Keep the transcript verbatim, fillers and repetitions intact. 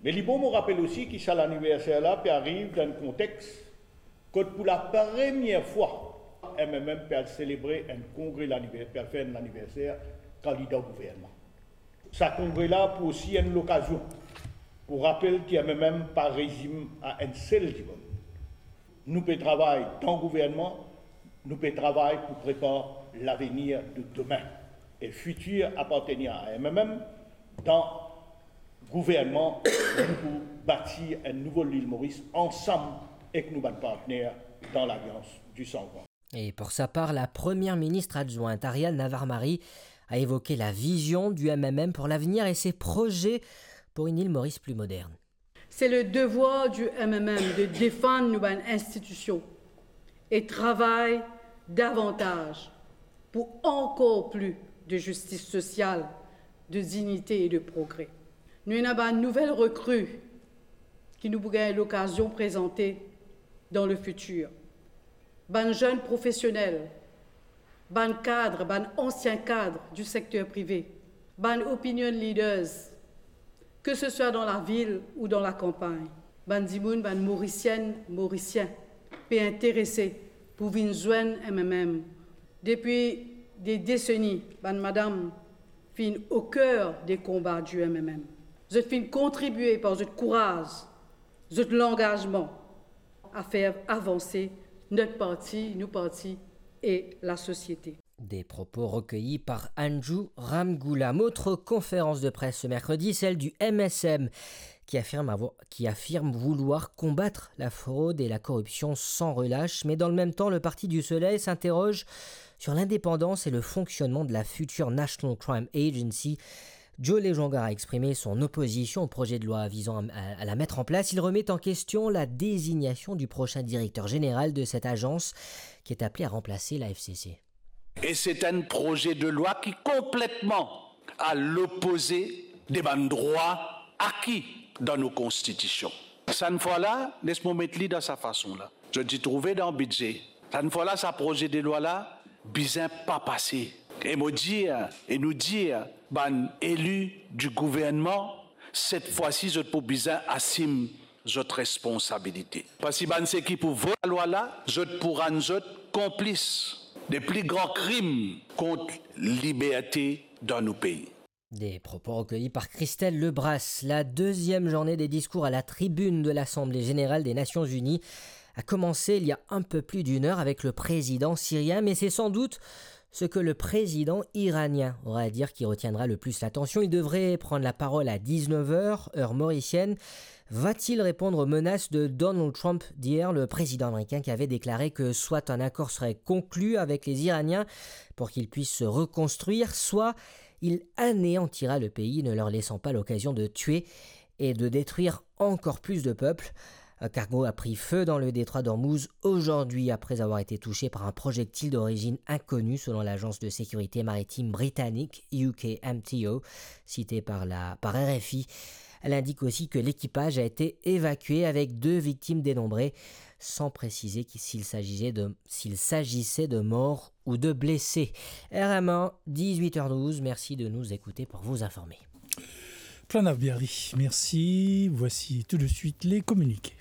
Me li bon mo rapel osi ki sa laniverser la pe ariv dan enn kontex kot pou lapremier fwa M M M pe al selebre enn kongre laniver-, pe al fer enn laniverser kandida gouvernman. Sa kongre la pou osi enn lokazion pou rapel ki M M M pa rezim a enn sel dimoun. Nou pe travay dan gouvernman, nou pe travay pou prepar lavenir de demin. E fitir apartenir a M M M dan gouvernman, nou pou batir enn nouvo Lil Moris ansam ek nou bann partner dan Lalians di San Juan. Et pour sa part, la première ministre adjointe Ariel Navarre-Marie a évoqué la vision du M M M pour l'avenir et ses projets pour une île Maurice plus moderne. C'est le devoir du M M M de défendre nos institutions et travailler davantage pour encore plus de justice sociale, de dignité et de progrès. Nous avons une nouvelle recrue qui nous aura l'occasion de présenter dans le futur. Bann zenn profesionel, bann kad, bann ansien kad di sekter prive, bann opinion leaders, ke se swa dan lavil ou dan lakanpagn, bann dimoun, bann Morisienn, Morisien, pe interese pou vinn zwenn M M M. Depi de deseni, bann madam finn o ker de konba di M M M. Zot finn kontribie par zot kouraz, zot langazman, a fer avanse not parti, nou parti e lasosiete. Des propos recueillis par Anju Ramgoolam. Autre conférence de presse ce mercredi, celle du M S M, qui affirme avoir, qui affirme vouloir combattre la fraude et la corruption sans relâche. Mais dans le même temps, le Parti du Soleil s'interroge sur l'indépendance et le fonctionnement de la future National Crime Agency. Joe Lejonga a exprimé son opposition au projet de loi visant à, à, à la mettre en place. Il remet en question la désignation du prochain directeur général de cette agence qui est appelé à remplacer la F C C. Et c'est un projet de loi qui est complètement à l'opposé de bann drwa aki dan nou konstitision. Sann fwa la, les mo met li dan sa fason la. Zot ti trouve dan bidze. Sann fwa la, sa proze de lwa la bizin pa pase. E mo dir, e nou dir, bann eli di gouvernman, set fwa si zot pou bizin asim zot responsabilite. Parski bann seki pou vot lalwa la, zot pou rann zot konplis de pli gran krim kont liberte dan nou pei. Des propos recueillis par Christelle Lebras. La deuxième journée des discours à la tribune de l'Assemblée générale des Nations unies a commencé il y a un peu plus d'une heure avec le président syrien, mais c'est sans doute ce que le président iranien aura à dire qui retiendra le plus l'attention. Il devrait prendre la parole à dix-neuf heures, heure mauricienne. Va-t-il répondre aux menaces de Donald Trump d'hier, le président américain qui avait déclaré que soit un accord serait conclu avec les Iraniens pour qu'ils puissent se reconstruire, soit il anéantira le pays, ne leur laissant pas l'occasion de tuer et de détruire encore plus de peuples. Un cargo a pris feu dans le détroit d'Ormuz aujourd'hui après avoir été touché par un projectile d'origine inconnue, selon l'agence de sécurité maritime britannique U K M T O, citée par la, par R F I. Elle indique aussi que l'équipage a été évacué avec deux victimes dénombrées, sans préciser qui, s'il s'agissait de, s'il s'agissait de morts ou de blessés. R M A, dix-huit heures douze, merci de nous écouter pour vous informer. Pranav Biari, merci. Voici tout de suite les communiqués.